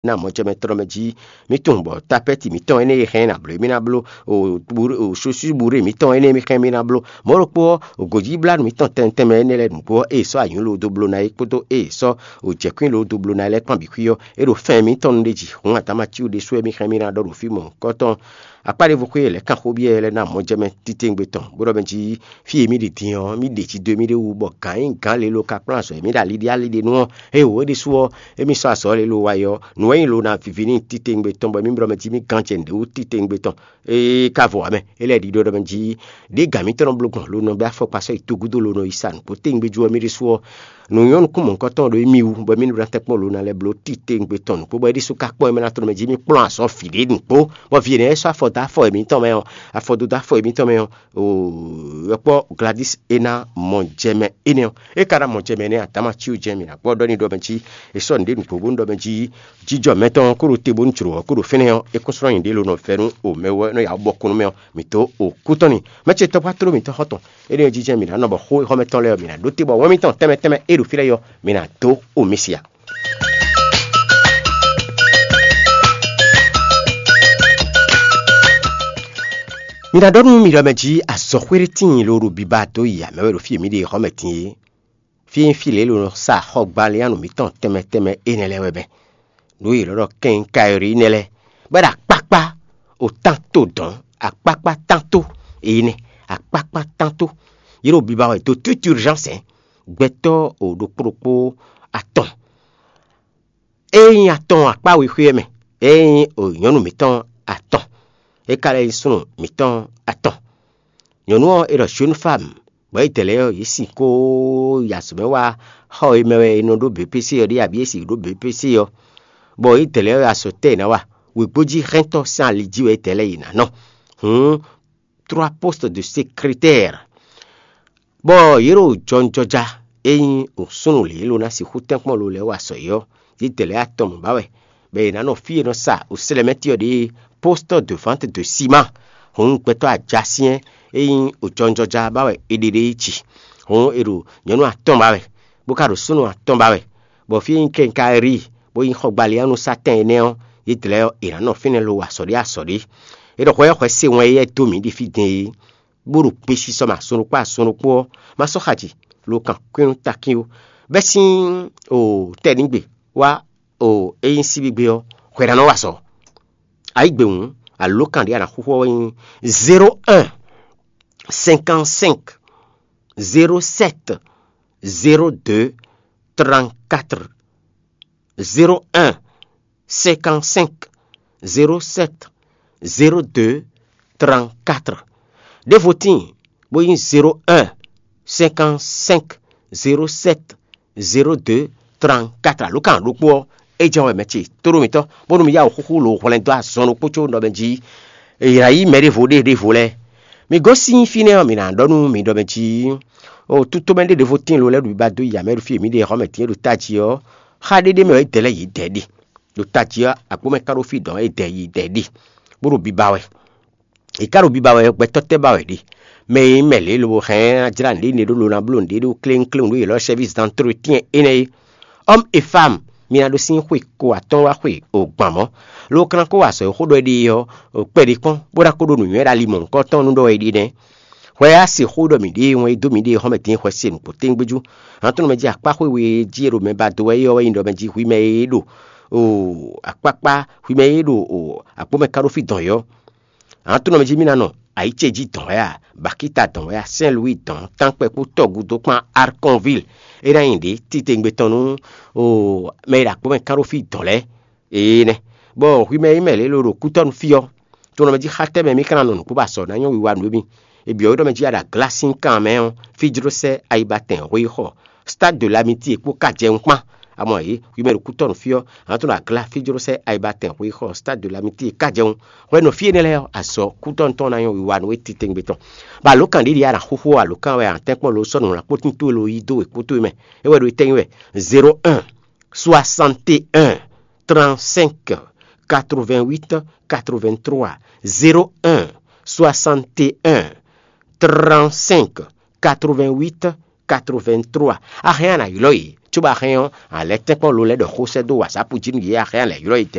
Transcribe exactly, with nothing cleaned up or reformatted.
ná mɔjɛmɛ tɔn mɛ jí. Mí tunwun bɔ tapɛ́ti mǐtɔn énɛ́ e hɛn ná bló mí ná bló, o sosúburé mǐtɔn énɛ́ e mí hɛn mí ná bló. Mɔ̌ ɖokpó ɔ́, gǒjíblánú mǐtɔn tɛntɛnmɛ énɛ́ lɛ́ɛ nǔgbó ɔ́, ée sɔ́ anyǔ loo dó bló ná é kpódó ée sɔ́ o jɛ̌kwín loo dó bló ná é lɛ́ɛ kpán bǐ xwí ɔ́, é ɖo fɛ́n mǐtɔn nu ɖé jí. Hǔn Adámatíwu ɖésú wɛ mí hɛn mí ná ɖɔ ɖo fí mɔ̌hunkɔtɔn. Akpá ɖěvo xwé lɛ̌ kan xó byɔ́ lɛ́ɛ ná mɔjɛmɛ titewungbe tɔn, bó ɖɔ mɛ jí: Fí e mì ɖi din ɔ́, mì ɖe jí dó émí ɖé wú, bɔ gǎn e nyí gǎn lě lo ka kplɔ́n azɔ̌ e mì ɖo ali ɖé ali ɖé nu ɔ́, ée wǒ é ɖésú ɔ́, émí sɔ́ azɔ̌ lě lo wá yi ɔ́, nǔ wɛ nyí lo ná viví n'i titewungbe tɔn, bɔ émí blɔ́ mɛ jí mì gán jɛ nǔɖé wú titewungbe tɔn. Ée ka vɔ ǎ mɛ, é lɛ́ ɖiɖɔ ɖɔ mɛ jí: Ɖěe gǎn mǐtɔn nɔ bló gbɔn lo nɔ bɛ́ afɔkpa sɔ́ yi togudo lo nɔ yi sa nǔgbó tewungbe jú ɔ́, mì ɖésú ɔ́, nǔ nyɔ́ nukún mɔ̌hunkɔtɔn ɖo émí wú, bɔ émí ɖo ná tɛ́nkpɔ́n lo ná lɛ́ bló titewungbe tɔn nǔgbó, bɔ é ɖésú ka kpɔ́n é mɛ ná tlɔ́n mɛ jí mì kplɔ́n azɔ̌ vǐ ɖé nǔgbó, bɔ vǐ énɛ́ e sɔ́ afɔ dó afɔ e mǐtɔn mɛ ɔ́, afɔ dó dó afɔ e mǐtɔn mɛ ɔ́, oo, wɛ kpɔ́ Gladys é ná mɔ jɛ mɛ énɛ́ ɔ́. É ka ná mɔ jɛ mɛ énɛ́ Adámatíwu jɛ́n mǐ ná kpɔ́ ɖɔ n'i ɖɔ mɛ jí è sɔ́ nǔɖé nǔgbó bónú ɖɔ mɛ jí jijɔ mɛtɔn ɔ́ kó ɖo te bónú jlǒ ɔ́ kó ɖo fínɛ́ ɔ́, é kún slɔ́ nyǐɖée lo nɔ vɛ́ nú o mɛ wɛ nɔ ya bɔ kún nú mɛ ɔ́, mǐ dó o kú tɔn ni. Mɛ ce tɔ́gbá tló mǐtɔn xɔ́ntɔn, énɛ́ ɔ́ jijɛ mǐ ná nɔ bɔ xó xɔ́mɛtɔn lɛ́ɛ ɔ́, mǐ ná ɖó te bɔ wɛn mǐtɔn tɛnmɛ tɛnmɛ e ɖo fí lɛ́ɛ ɔ́, mǐ ná dó o mì sia. Mi ná ɖɔ nú mi ɖɔ mɛ jí azɔ̌xwé ɖé tíin lo ɖo biba dó yi amɛ wɛ ɖo fí e mǐ ɖe xɔ́mɛ din é. Fí e nyí fí lě e è nɔ sa xɔgbalianu mǐtɔn tɛnmɛ tɛnmɛ énɛ́ lɛ́ɛ wɛ mɛ. Nǔ e è nɔ ɖɔ kɛnkáyɔ́ɖi nɛ́ lɛ́ɛ, bɔ é ɖo akpákpá o tánto dɔ̌n, akpákpá tánto énɛ́, akpákpá tánto. Yě ɖo biba wɛ dó tútú urgence gbɛtɔ́ o ɖokpó ɖokpó atɔn. Ée nyí atɔn akpá wexwé ɔ́ mɛ, ée nyí nyɔ̌nu mǐtɔn atɔn, é ka lɛ́ nyí súnnu mǐtɔn atɔn. Nyɔ̌nu ɔ́, è ɖɔ jeune femme, bɔ édɛɛ lɛ́ɛ ɔ́, yě sin kó yi azɔ̌ mɛ wá xɔ e mɛ wɛ è nɔ ɖó B P C ɔ́ ɖe, abǐ è sin ɖó B P C ɔ́, bɔ édɛɛ lɛ́ɛ ɔ́, azɔ̌ tɛ́ è nǎ wa? Wěgbójí hɛntɔ́ sín ali jí wɛ édɛɛ lɛ́ɛ yě ná nɔ. Hǔn, trois postes de secrétaire. Bɔ yě ɖo jɔnjɔja e nyí nǔsúnnú lě e lo ná sixú tɛ́nkpɔ́n lo lɛ́ɛ wa sɔ é ɔ́, yě dɛ lɛ́ɛ atɔn mɔ̌ ba wɛ, bɔ è nǎ nɔ fí e nɔ sa wǔslɛ́mɛtí ɔ́ ɖe poste de vente de ciment, hǔn gbɛtɔ́ ajasyɛ́n e nyí jɔnjɔja ba wɛ è ɖe ɖe yi ci. Hǔn è ɖo nyɔ̌nu atɔn ba wɛ, bó ka ɖo súnnu atɔn ba wɛ, bɔ fí e nyí kɛnkarí, bó nyí xɔgbalianusatɛn énɛ́ ɔ́, yě dɛ lɛ́ɛ è nǎ nɔ fínɛ́ lo wa sɔ̌ ɖé asɔ̌ ɖé. É ɖɔ hwɛ ɔ́, hwɛ se wɛn éyɛ́ dó mǐ ɖi fí din é. Bó ɖo gbe sisɔ mɛ azɔn ɖokpó azɔn ɖokpó ɔ́, ma sɔ́ xa jǐ, lo kan kwín nú takín ó. Bɛ́ sín o tɛ́nǐgbe wá o é nyí síbígbe ɔ́, hwɛ ná nɔ wa sɔ. Ayǐgbe hǔn, alǒkan ɖé a nǎ xúxú ɔ́ wɛ nyí zéro un cinquante cinq zéro sept zéro deux trente quatre. Zéro un cinquante cinq zéro sept zéro deux trente quatre. Ɖěvo tíin, bó nyí zéro un cinquante cinq zéro sept zéro deux trente quatre. Alǒkan ɖokpó ɔ́, é jɛ́n wɛ mɛ ce tóɖó mitɔn, bónú mi yá wǔ xúxú lo hwlɛ́n dó azɔn ɖokpó có nɔ mɛ jí. È nǎ yí mɛ ɖěvo ɖé ɖěvo lɛ́ɛ. Mi gosín fínɛ́ ɔ́, mi ná ɖɔ nú mi ɖɔ mɛ jí. O tútomɛ ɖé ɖěvo tíin lo lɛ́ɛ ɖo biba dó yi amɛ ɖo fí e mǐ ɖe xɔ́mɛ tíin ɖo tají ɔ́, xá ɖéɖé mɛ wɛ é dɛ lɛ́ɛ yě dɛ ɖe. Ɖo tají ɔ́, agbǒmɛ ka ɖo fí dɔn é dɛ yi dɛ ɖe, bó ɖo biba wɛ. È ká ɖo biba wɛ, gbɛtɔ́ tɛ́ ba wɛ ɖe? Mɛ e nyí mɛ lě lobo hɛn ná jlá nǔɖé ne ɖó lo ná bló nǔɖé ɖó kléŋkléŋ ɖó yě lɔ service d'entretien énɛ́ é. Homme et femme, mi ná ɖó sín xwe ko atɔ́ɔ́n wá xwe o gban mɔ̌. Lo ka ná kó wa azɔ̌ e xó ɖɔ é ɖe é ɔ́, kpɛɖé kpɔ́n, bó ná kó ɖó nǔnywɛ́ ɖo ali mɔ̌hunkɔtɔn nú ɖɔ é ɖe nɛ́. Hwɛ a se xó ɖɔ mǐ ɖe wɛn e dó mǐ ɖe xɔ́mɛ din hwɛ se nǔgbó tɛ́ngbéjú. Hǎn tɔn mɛ jí akpáxwé we jí e ɖo mɛ ba dó wɛ é ɔ́ wɛ nyí ɖɔ mɛ jí hwi mɛ e ɖo o akpákpá, hwi mɛ e ɖo o akpó mɛ ká ɖó fí dɔn yɔ́. Hǎn tɔn mɛ jí mí ná nɔ ayǐ ce jí dɔn wɛ a, Bakíta dɔn wɛ a, Saint Louis dɔn, Tánkpɛ kpó Tɔgudó kpán Arkonville, é ná nyi ɖě titewungbe tɔn nú o mɛ e ɖo akpó mɛ ká ɖó fí dɔn lɛ́ɛ. Ee nɛ, bɔ hwi mɛ e nyí mɛ lě lo ɖo kútɔ́nu fí ɔ́, to nɔ mɛ jí xá tɛ́ mɛ mí ka ná nɔ nǔkpó ba sɔ ná nyɔ́ wiwa nǔ émí? E byɔ̌ wé ɖɔ mɛ jí a ɖo aglá sín kan mɛ ɔ́, fí jló sɛ́ ayibatɛn hwe yi xɔ Stade de l'Amitié kpó ka jɛ nukpán. Amɔ yě, hwi mɛ ɖo kútɔ́nu fí ɔ́, a nǎ tɔ́n ɖo aglá fí jló sɛ́ ayibatɛn hwe yi xɔ Stade de l'Amitié ka jɛ nu. Hwɛ nɔ fí énɛ́ lɛ́ɛ ɔ́, azɔ̌ kútɔ́nu tɔn ná nyɔ́ wiwa nú we titewungbe tɔn. Bɔ alǒkan ɖě ɖíe a nǎ xúxú ɔ́, alǒkan wɛ a nǎ tɛ́nkpɔ́n lo sɔ́ nǔ ná kpó tín towe lo yí dó wěkpótó e mɛ. É wɛ ɖo tɛ́nyi wɛ: zéro un soixante et un trente-cinq quatre-vingt-huit quatre-vingt-trois, zéro un soixante et un trente-cinq quatre-vingt-huit quatre-vingt-trois. A hɛn a nǎ ylɔ́ yě Cóbɔ a hɛn ɔ́, a lɛ́ tɛ́nkpɔ́n lo lɛ́ɛ ɖɔ xó sɛ́ dó wǎsápu jí nú yě, a hɛn a lɛ̌ ylɔ́ yě